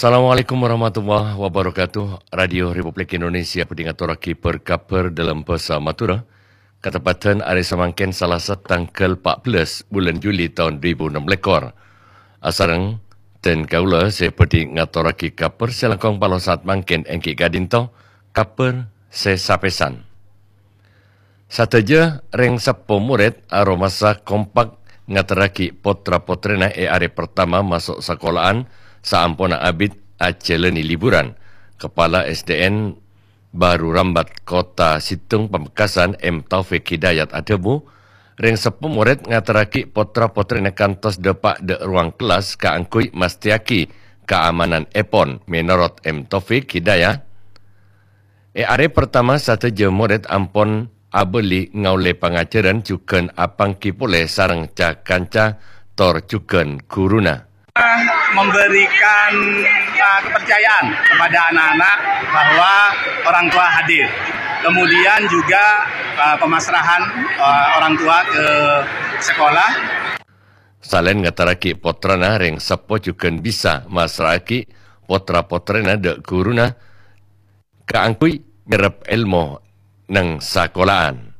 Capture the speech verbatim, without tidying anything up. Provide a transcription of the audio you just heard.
Assalamualaikum warahmatullahi wabarakatuh. Radio Republik Indonesia bhâdhi ngatorraghi bâr-kabhâr dâlem bhâsa Madhurâ. Kateppaddhân arè samangkèn Salasa tangghâl pa' bellâs bulân Juli taon dhu èbu ennem lèkor. Asareng dân kaulâ sè bhâdhi ngatorraghi kabhâr sè langkong palossat mangkèn èngghi ka'dinto kabhâr sè sapèsan. Sadhâjâ rèng seppo morèd aromasa kompak ngaterraghi pottra-pottrèna è arè pertama maso' sakola'an saamponna abit ajhâlâni liburan. Kepala S D N Baru Rambat Kota Situng Pamekasan M Taufik Hidayat adhâbu, rèng seppo morèd ngaterraghi pottra-pottrèna kantos dâpa' dâ' ruang kellas kaangghuy mastèyaghi kaamananèpon. Mènorot M Taufik Hidayat, è arè pertama sadhâjâ morèd ampon abâli ngaollè pangajhârân jhughân apangghi polè sareng ca-kanca tor jhughân ghuruna. Memberikan uh, kepercayaan kepada anak-anak bahwa orang tua hadir. Kemudian juga uh, pemasrahan uh, orang tua ke sekolah. Salaèn ngaterraghi pottrana, rèng seppo jhughân bisa massra'aghi pottra-pottrèna dâ' ghuruna kaangghuy nyerrep èlmo neng sakola'an.